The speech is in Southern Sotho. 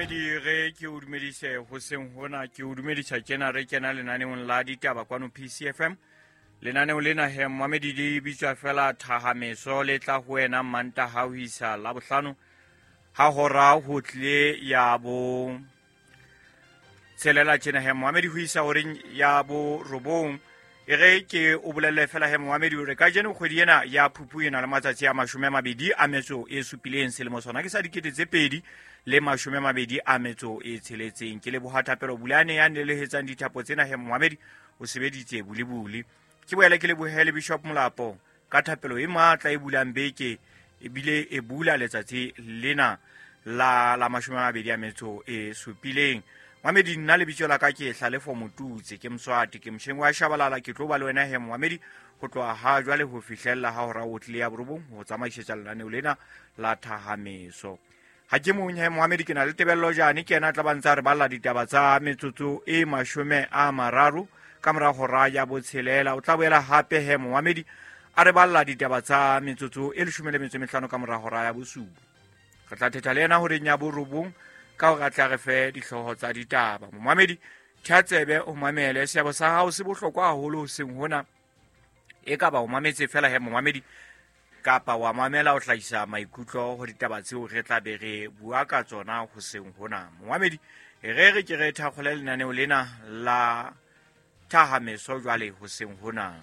Re ke o dumedise hoseng hona, ke o dumedisa tjena re kena lenaneong la ditaba kwano PCFM. Lenaneo lena he momamedi le bitswa fela Thahameso, le tla ho wena Mantaha ho isa Labohlano ha hora ho tlile ya bo tshelela tjena he momamedi ho isa horeng ya bo robong. E re ke o bolelle fela he momamedi hore kajeno kgwedi ena ya Phupu e na le matsatsi a 27, selemo sona ke sa 2026. Ke leboha Thapelo Bulane ya nelehetsang dithapo tsena he momamedi, o sebeditse bulibuli. Ke boele ke lebohe le Bishop Molapo ka thapelo e matla e bulang beke ebile e bula letsatsi lena la 27. Mamedi, nna lebitso la ka ke Hlalefo Motutse, ke Mswati, ke motjheng wa Shabalala. Ke tlo ba le wena he momamedi ho tloha ha jwale ho fihlella ha hora o tlile ya borobong ho tsamaisetsa lenaneo lena la Thahameso. Ha ke mong he momamedi, ke na le Tebello Jane, ke yena a tla ba ntse a re balla ditaba tsa metsotso e 30 ka mora hora ya botshelela. O tla boela hape he momamedi a re balla ditaba tsa metsotso e 15 ka mora hora ya bosupa. Re tla thetha le yena horeng ya borobong ka hore a tla re fe dihlooho tsa ditaba. Momamedi, thea tsebe o mamele, seabo sa hao se bohlokwa haholo hoseng hona. E ka ba o mametse fela he momamedi, kapa wa mamela o hlahisa maikutlo ho ditaba tseo re tla be re bua ka tsona hoseng hona. Momamedi, re re ke re thakgole lenaneo lena la Thahameso jwale hoseng hona.